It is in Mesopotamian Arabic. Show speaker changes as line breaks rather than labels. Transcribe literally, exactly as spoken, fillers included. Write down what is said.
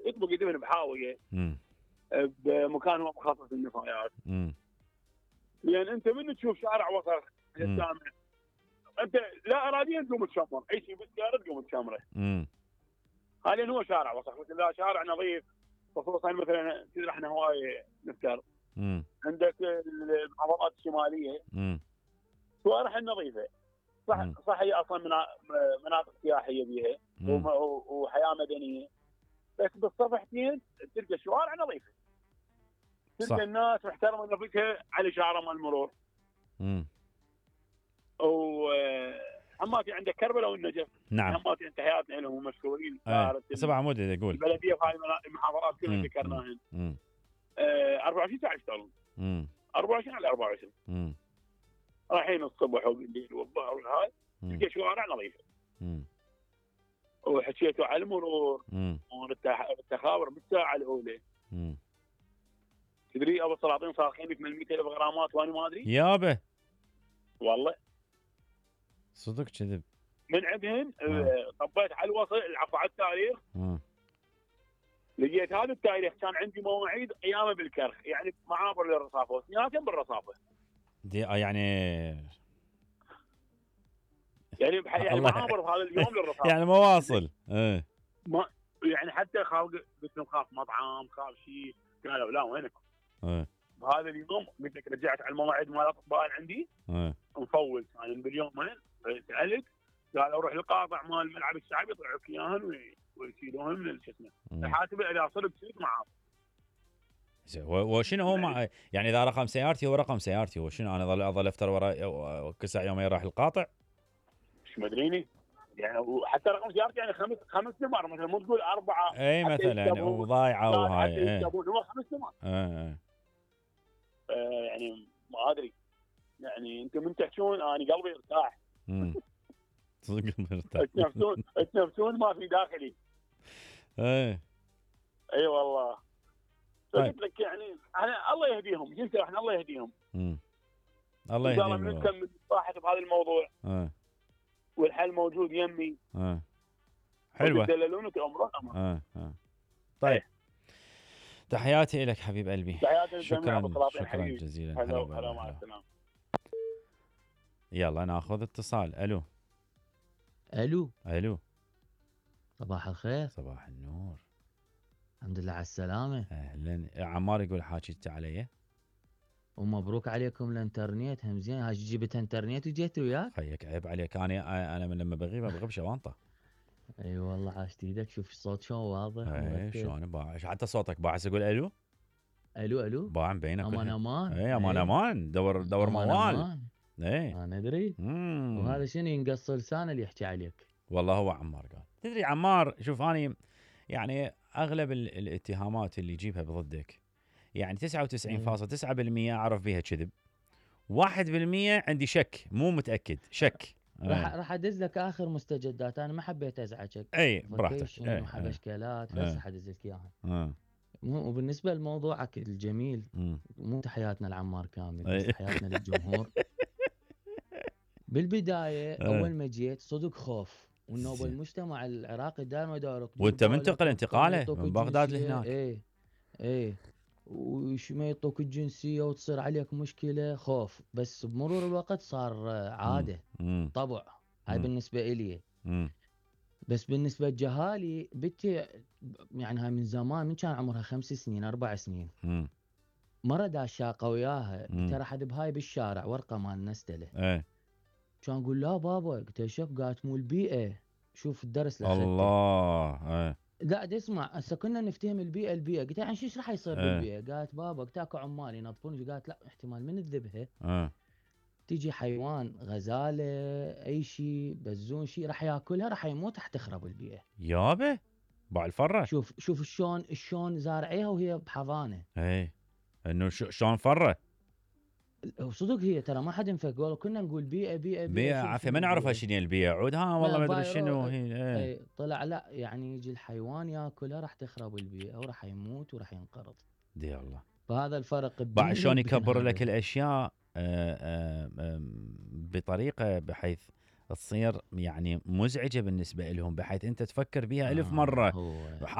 يطبق يدهن بحاويه بمكان هو مخصص للنفايات. لان انت من تشوف شارع وسخ الجامع انت لا اراديا تقوم تشمر اي شيء بالسياره تقوم تشمره. حاليا هو شارع وسخ، مثل لا شارع نظيف، خصوصا مثلا احنا هواي نذكر عندك المحافظات الشماليه شوارع نظيفه، صح صح هي اصلا مناطق سياحيه بيها وحياه مدنيه، بس بالصفحتين تلقى الشوارع نظيفه، تلقى الناس محترمه نفسها على شعره مال المرور. امم وحماتي عندك كربلاء والنجف.
نعم.
حماتي انت حياتنا لهم مشهورين.
ايه سبع عمود يقول
البلديه في هاي المحافظات كلها ذكرناهن. أربعة وعشرين ساعه يشتغلون. أربعة وعشرين على أربعة وعشرين. امم رايحين الصبح وبالليل والظهر والهاي تلقى شوارع نظيفه. امم وحكيتوا على المرور والتخابر بالساعه الاولى. امم تدري ابو السلاطين صارخين لك من مئة ألف غرامات وانا ما ادري
يابه
والله
صدق كذب
من عندهن. طبيت على الوصل العفو على التاريخ. مم. لقيت هذا التاريخ كان عندي مواعيد ايامه بالكرخ، يعني معابر للرصافه واثنيناتهم بالرصافه
دي يعني
يعني يعني معابر بهذا اليوم للرصافه
يعني مواصل. ايه
ما يعني حتى خاف قلت لهم خاف مطعم خاف شيء، قالوا لا وينكم؟ ايه بهذا اليوم قلت لك رجعت على المواعيد مال الاطباء عندي. ايه مفول كان يعني باليومين سالت قالوا روح القاطع مال الملعب الشعبي يطلعوك اياهن ويشيلوهن من شو اسمه الحاسب اذا صرت شيك معاه.
وشنو هو مع يعني اذا رقم سيارتي هو رقم سيارتي، وشنو انا اظل اظل افتر ورا كسع يومين راح القاطع؟
مش مدريني يعني، وحتى رقم سيارتي يعني خمس خمس نمر مثلا، مو تقول اربعه
اي مثلا وضايعه وهاي
اي هو خمس نمر.
اي
آه يعني ما ادري يعني انتم من تحكون انا قلبي ارتاح.
امم صدق قلبي ارتاح.
تنفسون تنفسون ما في داخلي.
ايه
اي والله. قلت لك يعني انا الله يهديهم جنس احنا الله يهديهم.
امم الله يهديهم.
ان شاء الله بنكمل صراحه بهذا الموضوع.
اه
والحل موجود يمي.
اه حلوه.
تدللونك امر امر.
اه اه طيب ايه. تحياتي لك حبيب قلبي. شكرا شكرا جزيلا.
هلا هلا مع السلامه.
يلا ناخذ اتصال. الو
الو
الو
صباح الخير.
صباح النور.
الحمد لله على السلامه.
اهلا. عمار يقول حاجيت علي
ومبروك عليكم الانترنت هم زين. هاي جبت انترنت وجيت وياك.
خيك عيب عليك، انا انا من لما بغيب بغيب شوانطه.
اي أيوة والله عاشت ايدك. شوف الصوت شلون واضح.
اي شلون باعش حتى صوتك باعث اقول الو
الو الو
باع بينك.
امان امان.
اي امان امان دور دور
أمان
موال.
أمان.
اي
انا ادري. وهذا شنو ينقص لسانه اللي يحكي عليك.
والله هو عمار قال. تدري عمار شوف اني يعني اغلب الاتهامات اللي يجيبها بضدك يعني تسعة وتسعين فاصلة تسعة بالمئة اعرف بيها كذب، واحد بالمئة عندي شك مو متاكد شك.
راح راح ادز لك اخر مستجدات. انا ما حبيت ازعجك.
اي براحتك.
اي حبشكلات بس حدز لك اياها. وبالنسبه لموضوعك الجميل مو تحياتنا لعمار كامل بس تحياتنا للجمهور. بالبدايه اول ما جيت صدق خوف وانه المجتمع العراقي دائما يدارك.
وانت منتقل انتقاله من بغداد لهناك.
اي اي وش ما يعطوك الجنسيه وتصير عليك مشكله خوف، بس بمرور الوقت صار عاده. مم. طبع. هاي مم. بالنسبه الي. مم. بس بالنسبه لجهالي بنتي يعني هاي من زمان، من كان عمرها خمس سنين اربع سنين. مم. مره داشاقه وياها قلت راح ادب هاي بالشارع ورقه مال نستله.
ايه
كان اقول لا بابا قلت شوف قالت مو البيئه. شوف الدرس اللي
الله. ايه
قاعد اسمع هسه كنا نفتهم البيئه البيئه قلت يعني ايش راح يصير اه. بالبيئه؟ قالت بابا قلت اكو عمال ينظفون. قالت لا احتمال من تذبها اه. تيجي حيوان غزاله اي شيء بزون شيء راح ياكلها راح يموت راح تخرب البيئه.
يابا باع الفره.
شوف شوف شلون شلون زارعيها وهي بحضانه.
اي انه شلون فره.
وصدق هي ترى ما حد ينفك والله كنا نقول بيئه بيئه
بيئه عافيه ما نعرفها شنو البيئه عود ها والله ما ادري شنو هي.
اي طلع لا يعني يجي الحيوان ياكلها راح تخرب البيئه وراح يموت وراح ينقرض.
دي الله.
فهذا الفرق.
بعد شلون يكبر لك الاشياء آآ آآ بطريقه بحيث تصير يعني مزعجه بالنسبه لهم، بحيث انت تفكر بها ألف مره.